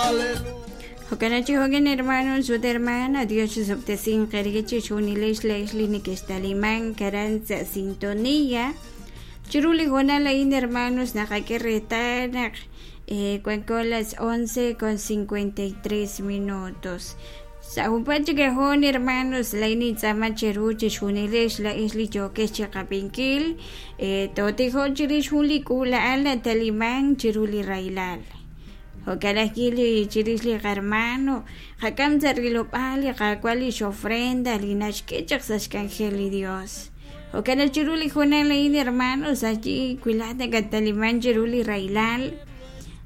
Jo'kan chi jo'kan hermanos ut hermana, Dios chixob'tesinq eere chixjunilex laa'ex li nekextalimank aran sa' sintonía. Chiru li hoonal a'in hermanos naqak'e reetal naq wanko las 11 con 53 minutos. Sa' junpaat chik hoon hermanos laa'in nintz'aama cheru chixjunilex laa'ex li yookex chiqab'inkil tootijoq chirix jun li k'uula'al natalimank chiru li rahilal. Jo'kan ajwi' li chirix li qarmano qak'am sa' rilob'aal li Qaawa' lix ofrenda li naxk'e chaq sa' xk'anjel li Dios. Jo'kan naq chiru li hoonal a'in hermanos ayi wi laa'at nakattaliman chiru li rahilal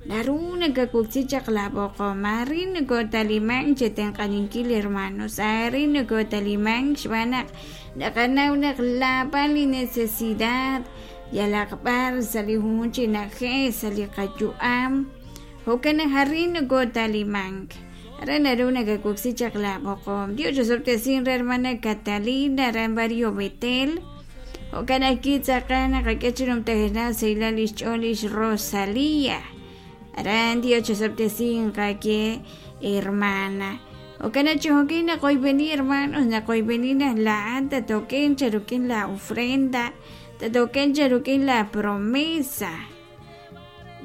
naru nakawoksi chaq laa b'oqom. Arin nokotalimank chetenq'aninkil hermanos, arin nokotalimank xb'aan naq naqanaw naq laab'al li necesidad yalaq b'ar sa' li junjunq chi na'ajej sa' li qayu'am. Jo'kan naq arin nokotalimank. Aran naru nakawoksi chaq laa b'oqom. Dios chosob'tesinq re hermana Catalina aran Barrio Betel. Jo'kan ajwi' tz'aqal naqak'e chi numtajenaq sahilal lix ch'ool lix Rosalía. Aran Dios chosob'tesinq aawe hermana. Jo'kan naq chi jo'kin naqoyb'eni hermanos, naqoyb'eni naq laa'at tatoken cha rik'in la ofrenda, tatoken cha rik'in la promesa.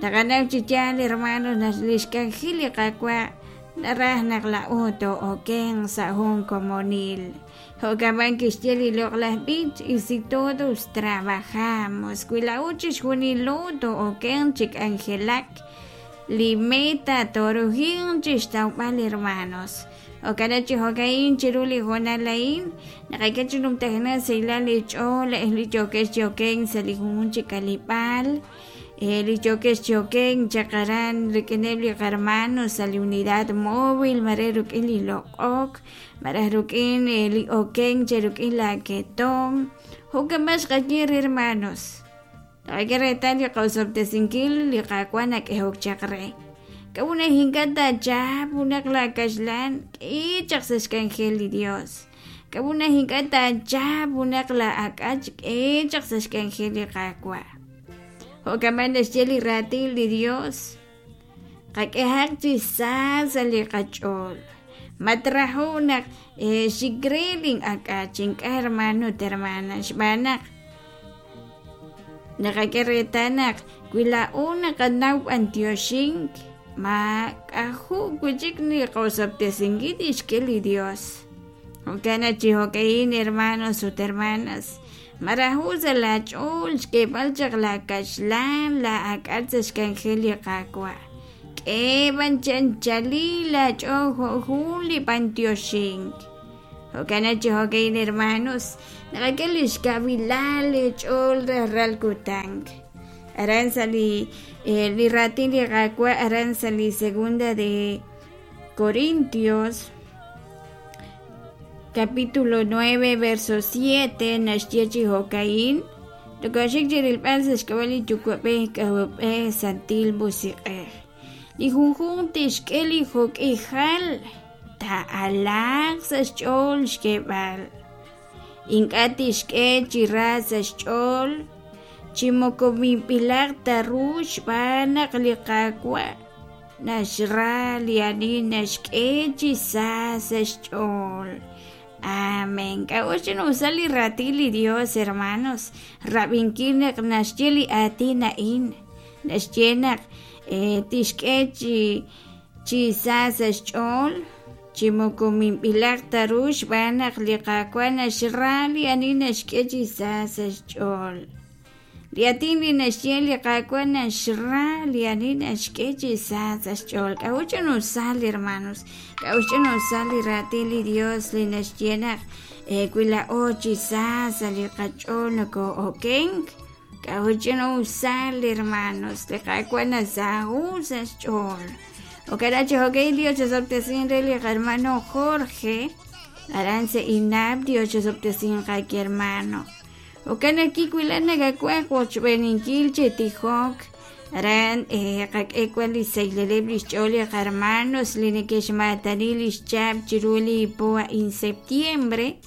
Naqanaw chi yaal hermanos naq lix k'anjel li Qaawa' naraj naq laa'o too'okenq sa' jun komonil. Jo'kan b'an kixye li loq'laj b'ich, y si todos trabajamos, wi laa'o chixjunilo too'okenq chi k'anjelak, li meta tooruhinq chixtawb'al hermanos. Jo'kan naq chi jo'ka'in chiru li hoonal a'in, naqak'e chi numtajenaq sahilal li ch'ool li yookex chi okenk sa' li junjunq chi k'aleb'aal, li yookex chi okenk chaq aran rik'ineb' li qarmano sa' li unidad móvil, mare rik'in li loq'ok, malaj rik'in li okenk che rik'in la ketom. Jo'kan b'an xqaye re hermanos. Naqak'e reetal li qosob'tesinkil li Qaawa' nak'ehok chaq re. K'a'ut naq ink'a' taachap junaq laakaxlan k'i chaq sa' xk'anjel li Yos? K'a'ut naq ink'a' taachap junaq laa'ak'ach k'i chaq sa' xk'anjel li Qaawa'? Jo'kan b'an naxye li raatin li Yos, qak'ehaq chi sa sa' li qach'ool. Matraho' naq xik re lin'ak'ach, ink'a' hermano ut hermana, xb'aan naq Naqak'e reetal naq wi laa'o naqanaw b'antioxink, maak'a'jo' wi' chik li qosob'tesinkil tixk'e li Dios. Jo'kan naq chi jo'ka'in hermanos ut hermanas, maraho' sa' laa ch'ool xk'eeb'al chaq laa kaxlan, laa ak'al sa' xk'anjel li Qaawa'. K'e b'an chi anchalil aach'ool jo' jun li b'antioxink. Jo'kan naq chi jo'ka'in hermanos, naqak'e lix kawilal leech'ool rajlal kutan. Aran sa' li li raatin li Qaawa' aran sa' li segunda de Corintios capítulo 9 verso 7 naxye chi jo'ka'in Tokoxik chi rilb'al sa' xk'ab'a' li Yuwa'b'ej K'ajolb'ej Santil Musiq'ej. Li junjunq tixk'e li jok'ihal taa'alaaq sa' xch'ool xk'eeb'al. Ink'a' tixk'e chi ra sa' xch'ool chi moko minb'ilaq ta ru xb'aan naq li Qaawa' naxra li ani naxk'e chi sa sa' xch'ool. Amén. K'a'ut xch'ina'usal li raatin li Dios, hermanos? Rab'inkil naq naxye li aatin a'in, naxye naq tixk'e chi chi sa sa' xch'ool, chi moko minb'ilaq ta ru xb'aan naq li Qaawa' naxra li ani naxk'e chi sa sa' xch'ool. Li aatin li naxye li Qaawa' naxra li ani naxk'e chi sa sa' xch'ool. K'a'ut ch'ina'usal, hermanos? K'a'ut ch'ina'usal li raatin li Dios li naxye naq wi laa'o chi sa sa' li qach'ool nokoo'okenk? K'a'ut ch'ina'usal, hermanos? Li Qaawa' nasaho' sa' xch'ool. Jo'kan chi jo'kan Dios osob'tesin re li hermano Jorge. Aran sa' INAP Dios osob'tesin qaki hermano. Jo'kan naq kiwilak nakawaj wochb'eeninkil chi tijok aran qak'e wan li sahileb' li xch'ool li qarmanos li neke'xmaatani li xchab' chiru li po a'in septiembre.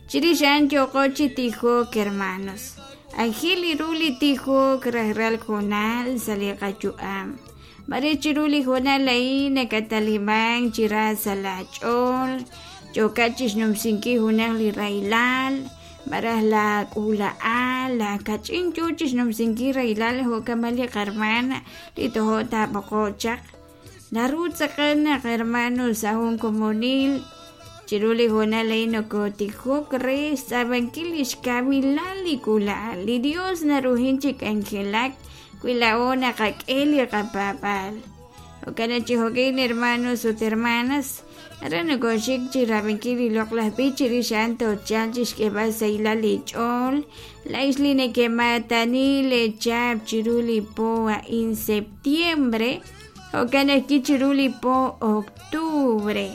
Chirix a'an yooqo chi tijok hermanos. Anjel li ru li tijok rajlal hoonal sa' li qayu'am. Mare chiru li hoonal a'in nakatalimank chi ra sa' laach'ool, yookat chi xnumsinkil junaq li rahilal, malaj laak'uula'al, laakach'in yo chi xnumsinkil rahilal jo' kama' li qahermana li tojo' taab'oqo'q chaq. Naru tz'aqal naq hermano sa' jun komonil chiru li hoonal a'in nokotijok re xtz'aamankil li xkawilal li k'uula'al. Li Dios naruhin chi k'anjelak wi laa'o naqak'e li qapaab'aal. Jo'kan naq chi jo'kin hermanos ut hermanas, aran nokoxik chi rab'inkil li loq'laj b'ich chirix a'an toochalq chi xk'eeb'al sahilal li ch'ool. Laa'ex li nekemaatani leechaab' chiru li po a'in septiembre, jo'kan ajwi' chiru li po octubre.